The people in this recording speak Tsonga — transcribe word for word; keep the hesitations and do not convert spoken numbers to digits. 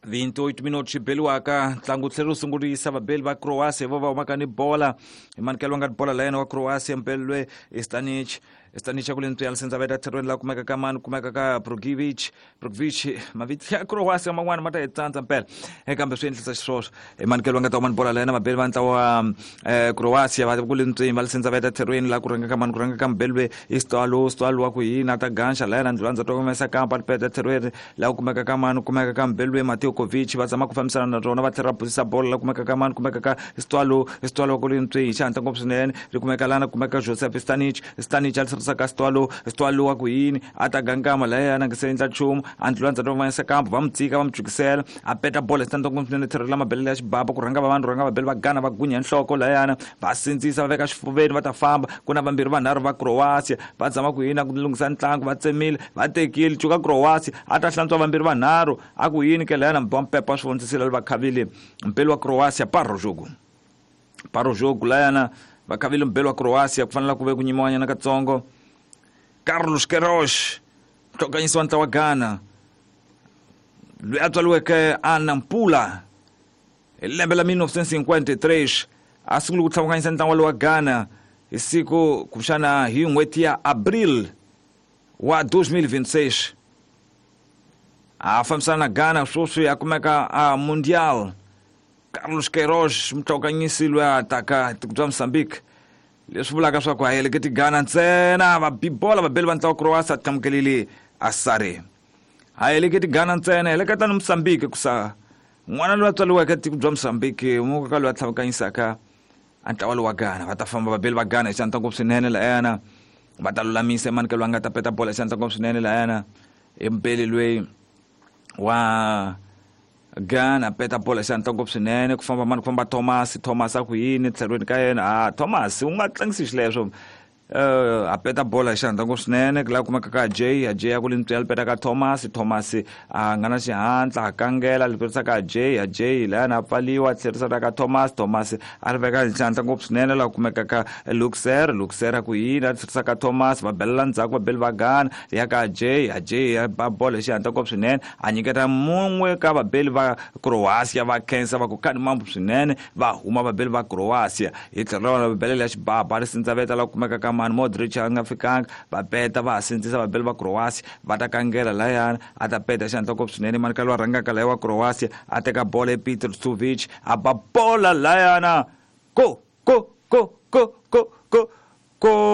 vinte e oito minutos xibeliwaka ntlangu tlhela wu sungurisa vabeli va Croatia vo va humaka ni bola hi manikelo wa nga bola la yena wa Croatia mpeli lwe Stanic Stanic ku le ntswi senza veta tlherweni la kumeka ka mani kumeka ka Brogivic Brogivic mavito ya Croatia man'wana ma ta hi tsandza mpela kambe swi endlisa xiswoswo hi manikelo wa nga ta huma ni bola la yena vabeli va ntlawa wa Croatia va ku le ntswini va senza veta tlherweni la ku rhanga ka mani ku rhanga ka mbeli lwe Stalo Stalo wa ku yini ta ganxa la yena ndlulandza to humesa kampa peta tlherweni la ku kumeka ka mani kumeka ka mbeli lwe Mateo Kovic va zama ku fambisana na rona va tlhela va busisa bola la kumeka ka mani kumeka ka Stalo Stalo ku le ntswini xi ngopfu swinene ri kumeka lana kumeka Joseph Stanic Stanic a tlherisa ka Stalo Stalo wa ku yini a ta gangama la yena nge se endla nchumu a ndlulandza to humesa kampa va mu tsika va mu jukisela a peta bola xi ngopfu swinene tlhelo la mabelele ya xibaba ku rhanga va vanhu rhanga vabeli va Ghana va gunya nhloko la yana va sindzisa va veka xifuveni va ta famba ku na vambirhi vanharhu va Croatia va zama ku yini ku lunghisa ntlangu va tsemile va tekile cuka Croatia a ta hlantswa vambirhi vanharhu a ku yini ke la yana mpepa swi vondzisile va khavile mpeli wa Croatia paro jogo paro jogo la yana va khavile mpeli wa Croatia ku fanela ku ve ku nyimiwanyana katsongo Carlos Queiroz hlokanyisi wa ntlawa wa Ghana loyi a tswariweke a Nampula hi lembe la mil novecentos e cinquenta e três a sungule ku tlhavukanyisa ntlangu wa Ghana hi siku kumbexana hi n'hweti ya Abril wa dois mil e vinte e seis a fambisana na Ghana sweswi a kumeka a Mundial Carlos Queiroz mutlhokanyisi loyi a taka tiko bya Mozambique leswi vulaka swa ku a heleketi Ghana ntsena va bibola vabeli va ntlawa Croatia a tlamukelile Asare a heleketi Ghana ntsena heleketa ni Mozambique kusa n'wana loyi a tswariweke tiko bya Mozambique muka loyi a tlhavukanyisaka a ntlawa lowa Ghana va ta famba vabeli va Ghana hi xandla ngopfu swinene layana va ta lulamisa emanikelo a nga ta peta bola hi xandla ngopfu swinene layana i mbeli loyi wa Ghana peta bola hi xandla ngopfu swinene ku famba mani ku famba Thomas Thomas a ku yini tlhelweni ka yena a Thomas u nga tlangisi xileswo Uh, a peta bola hi xandla ngopfu swinene ku la kumeka ka Jay a Jay a ku le ntswi peta ka Thomas Thomas a nga na xihatla a kangela li petisa ka Jay a Jay layana a pfaliwa a tlherisa ka Thomas Thomas a ri veka hi xandla ngopfu swinene la kumeka ka Luxer Luxer a ku yini a tlherisa ka Thomas va belela ndzhaku va beli va Ghana ya ka Jay a Jay a ba bola hi xandla ngopfu swinene a nyiketa mun'we ka vabeli va Croatia va khensa va ku kani mambo swinene va huma vabeli va Croatia hi tlhelo ra vona va belela xibaba ri sindzaveta la kumeka ka mani Modric a nga fikanga va peta va sindzisa vabeli va Croatia va ta kangela layana a ta peta xandla ngopfu swinene mani ka loyi a rhangaka laya wa Croatia a teka bola hi Peter Stovic a ba bola layana go go go go go go go.